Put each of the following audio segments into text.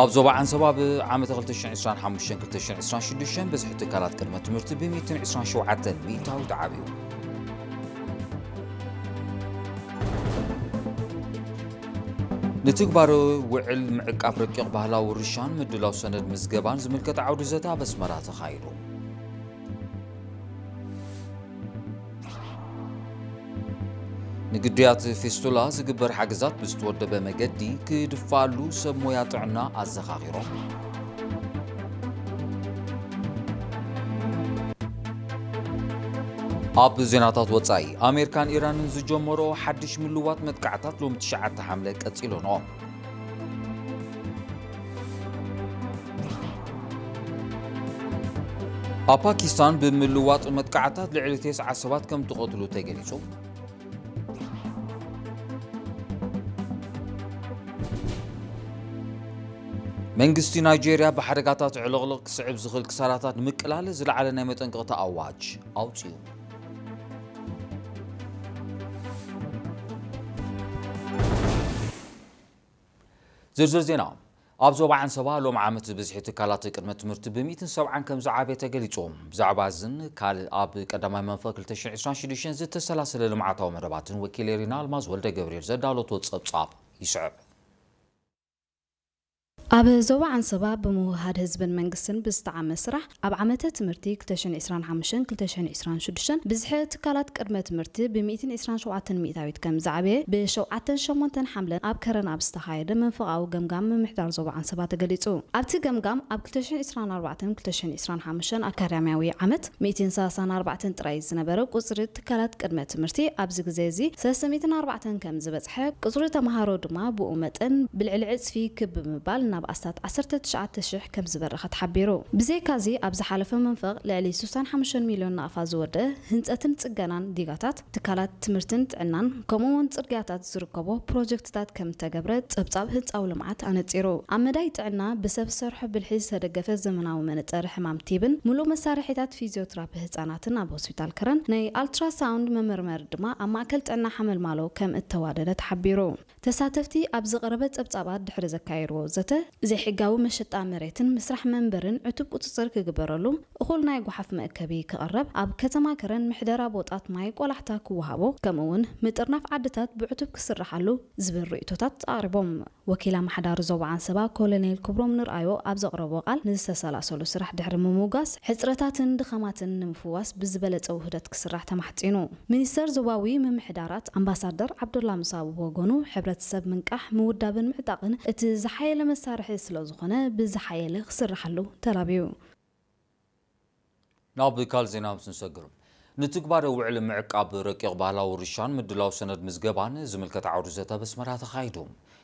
ኣብ ዞባ ዓንሰባ ብዓመተ ክልተ ሽሕን ዕስራን ሓሙሽተን ክልተ ሽሕን ዕስራን ሽዱሽተን ብዝሒ ትካላት ቅድመ ትምህርቲ ብሚእትን ዕስራን ሸውዓተን ሚእታዊት ዓብዩ። ንትግባረ ውዕል ምዕቃብ ረቂቕ ባህላዊ ውርሻን ምድላው ሰነድ ምዝገባን ዝምልከት ዓውዲ ዘተ ኣብ ኣስመራ ተኻይዱ። ንግዱያት ፊስቱላ ዝግበር ሓገዛት ብዝተወደበ መገዲ ክድፋኣሉ ሰብ ሞያ ጥዕና ኣዘኻኺሮም። ኣብ ዜናታት ወጻኢ፣ ኣሜሪካን ኢራንን ዝጀመርኦ ሓድሽ ምልዋጥ መጥቃዕታት ሎሚ ትሽዓተ ሓምለ ቀጺሉ'ሎ። ኣብ ፓኪስታን ብምልዋጥ መጥቃዕታት ልዕሊ ተስዓ ሰባት ከም ትቐትሉ ተገሊጹ። መንግስቲ ናይጄርያ ብሓደጋታት ዕልቕልቕ ክስዕብ ዝኽእል ክሳራታት ንምቅላል ዝለዓለ ናይ መጠንቀቕታ ኣዋጅ ኣውጺኡ። ዝርዝር ዜና። ኣብ ዞባ ዓንሰባ ሎም ዓመት ብዝሒ ትካላት ቅድመ ትምህርቲ ብሚእትን ሰብዓን ከም ዝዓበየ ተገሊጹ። ብዛዕባ እዝን ካልእ ኣብ ቀዳማይ መንፈቅ ክልተ ሽሕን ዕስራን ሽዱሽተን ዝተሰላሰለ ልምዓታዊ መደባትን ወኪል ኤሪና ኣልማዝ ወልደ ገብርኤል ዘዳለቶ ጸብጻብ ይስዕብ። ኣብ ዞባ ዓንሰባ ብምውሃድ ህዝብን መንግስትን ብዝተዓመ ስራሕ ኣብ ዓመተ ትምህርቲ ክልተ ሽሕን ዕስራን ሓሙሽተን ክልተ ሽሕን ዕስራን ሽዱሽተን ብዝሒ ትካላት ቅድመ ትምህርቲ ብሚእትን ዕስራን ሸውዓተን ሚእታዊት ከም ዝዓበየ ብሸውዓተን ሸሞንተን ሓምለን ኣብ ከረን ኣብ ዝተኻየደ መንፈቓዊ ገምጋም ምምሕዳር ዞባ ዓንሰባ ተገሊጹ። ኣብቲ ገምጋም ኣብ ክልተ ሽሕን ዕስራን ኣርባዕተን ክልተ ሽሕን ዕስራን ሓሙሽተን ኣካዳሚያዊ ዓመት ሚእትን ሰላሳን ኣርባዕተን ጥራይ ዝነበረ ቁጽሪ ትካላት ቅድመ ትምህርቲ ኣብዚ ግዜ እዚ ሰለስተ ሚእትን ኣርባዕተን ከም ዝበጽሐ፣ ቁጽሪ ተምሃሮ ድማ ብኡ መጠን ብልዕሊ ዕጽፊ ክብ ብምባል ናብ ኣስታት ዓሰርተ ትሽዓተ ሽሕ ከም ዝበረኸ ተሓቢሩ። ብዘይካዚ ኣብ ዝሓለፈ መንፈቕ ልዕሊ ስሳን ሓሙሽተን ሚልዮን ናቕፋ ዝወደ ህንጸትን ጽገናን ዲጋታት ትካላት ትምህርትን ጥዕናን ከምኡ እውን ጽርግያታት ዝርከቦ ፕሮጀክትታት ከም እተገብረ ጸብጻብ ህንጻዊ ልምዓት ኣነጺሩ። ኣብ መዳይ ጥዕና ብሰብ ሰርሖ ብልሒ ዝተደገፈ ዘመናዊ መነጸሪ ሕማም ቲብን ምሉእ መሳርሒታት ፊዚዮትራፒ ህጻናትን ኣብ ሆስፒታል ከረን ናይ ኣልትራሳውንድ መመርመሪ ድማ ኣብ ማእከል ጥዕና ሓመልማሎ ከም እተዋደደ ተሓቢሩ። ተሳተፍቲ ኣብ ዝቐረበ ጸብጻባት ድሕሪ ዘካየድዎ ዘተ፣ ዘይሕጋዊ መሸጣ መሬትን ምስራሕ መንበርን ዕቱብ ቁጽጽር ክግበረሉ፣ እኹል ናይ ጓሓፍ መእከቢ ክቐረብ፣ ኣብ ከተማ ከረን ምሕደራ ቦጣት ማይ ቆላሕታ ክወሃቦ፣ ከምኡ እውን ምጥርናፍ ዓድታት ብዕቱብ ክስራሓሉ ዝብል ርእይቶታት ኣቕሪቦም። ወኪል ኣመሓዳሪ ዞባ ዓንሰባ ኮሎኔል ክብሮም ንርኣዮ ኣብ ዘቕረቦ ቃል፣ ንዝተሰላሰሉ ስራሕ ድሕሪ ምምጓስ፣ ሕጽረታትን ድኻማትን ንምፍዋስ ብዝበለጸ ውህደት ክስራሕ ተማሕጺኑ። ሚኒስተር ዞባዊ ምምሕዳራት ኣምባሳደር ዓብዱላ ሙሳ ብወገኑ፣ ሕብረተሰብ ምንቃሕ፣ ምውዳብን ምዕጣቕን እቲ ዝሓየለ መሳርሒ ስለ ዝኾነ፣ ብዝሓየለ ክስርሓሉ ተላብዩ። ናብ ካልእ ዜና ምስ ንሰግር፣ ንትግባረ ውዕል ምዕቃብ ረቂቕ ባህላዊ ውርሻን ምድላው ሰነድ ምዝገባን ዝምልከት ዓውዲ ዘተ ኣብ ኣስመራ ተኻይዱ።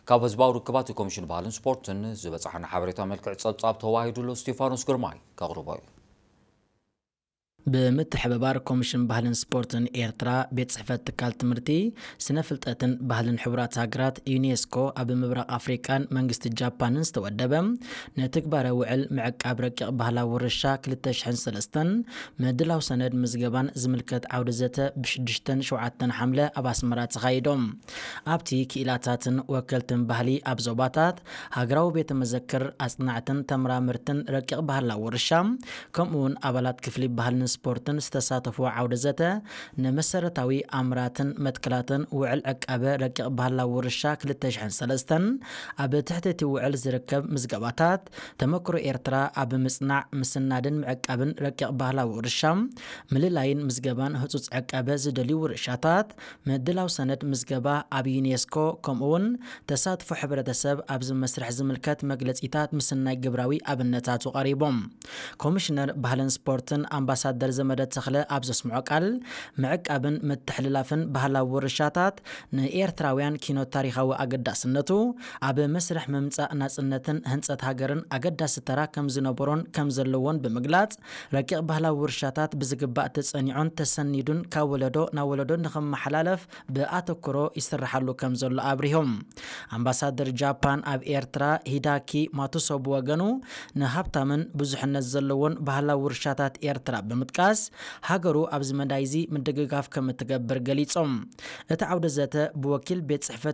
ካብ ህዝባዊ ርክባት ኮሚሽን ባህልን ስፖርትን ዝበጻሓና ሓበሬታ መልክዕ ጸብጻብ ተዋሂዱሎ ስቴፋኖስ ግርማይ ከቕርቦ እዩ። ብምትሕብባር ኮሚሽን ባህልን ስፖርትን ኤርትራ፣ ቤት ጽሕፈት ትካል ትምህርቲ፣ ስነ ፍልጠትን ባህልን ሕቡራት ሃገራት፣ ዩኔስኮ፣ ኣብ ምብራቕ ኣፍሪቃን መንግስቲ ጃፓንን ዝተወደበ ንትግባረ ውዕል ምዕቃብ ረቂቕ ባህላዊ ውርሻ ክልተ ሽሕን ሰለስተን ምድላው ሰነድ ምዝገባን ዝምልከት ዓውዲ ዘተ ብሽዱሽተን ሸውዓተን ሓምለ ኣብ ኣስመራ ተኻይዶም። ኣብቲ ክኢላታትን ወከልትን ባህሊ ኣብ ዞባታት፣ ሃገራዊ ቤተ መዘክር፣ ኣጽናዕትን ተመራመርትን ረቂቕ ባህላዊ ውርሻ፣ ከምኡ እውን ኣባላት ክፍሊ ባህልን ስፖርትን ዝተሳተፍዎ ዓውደ ዘተ፣ ንመሰረታዊ ኣምራትን መትከላትን ውዕል ዕቃበ ረቂቕ ባህላዊ ውርሻ ክልተ ሽሕን ሰለስተን ኣብ ትሕቲ እቲ ውዕል ዝርከብ ምዝገባታት፣ ተመክሮ ኤርትራ ኣብ ምጽናዕ፣ ምስናድን ምዕቃብን ረቂቕ ባህላዊ ውርሻ፣ ምልላይን ምዝገባን ህጹጽ ዕቃበ ዝደልዩ ውርሻታት፣ ምድላው ሰነድ ምዝገባ ኣብ ዩኔስኮ፣ ከምኡ እውን ተሳትፎ ሕብረተሰብ ኣብዚ መስርሕ ዝምልከት መግለጺታት ምስናይ ግብራዊ ኣብነታቱ ቀሪቦም። ኮሚሽነር ባህልን ስፖርትን ኣምባሳደር ዘመደ ተኽለ ኣብ ዘስምዖ ቃል፣ ምዕቃብን ምትሕልላፍን ባህላዊ ውርሻታት ንኤርትራውያን ኪኖት ታሪኻዊ ኣገዳስነቱ፣ ኣብ መስርሕ ምምጻእ ናጽነትን ህንጸት ሃገርን ኣገዳሲ ተራ ከም ዝነበሮን ከም ዘለዎን ብምግላጽ፣ ረቂቕ ባህላዊ ውርሻታት ብዝግባእ ተጸኒዑን ተሰኒዱን ካብ ወለዶ ናብ ወለዶ ንኽመሓላለፍ ብኣተኩሮ ይስርሓሉ ከም ዘሎ ኣብሪሆም። ኣምባሳደር ጃፓን ኣብ ኤርትራ ሂዳኪ ማቱሶ ብወገኑ፣ ንሃብታምን ብዙሕነት ዘለዎን ባህላዊ ውርሻታት ኤርትራ ብምጥቃስ፣ ሃገሩ ኣብዚ መዳይ እዚ ምድግጋፍ ከም እትገብር ገሊጾም። እቲ ዓውደ ዘተ ብወኪል ቤት ጽሕፈት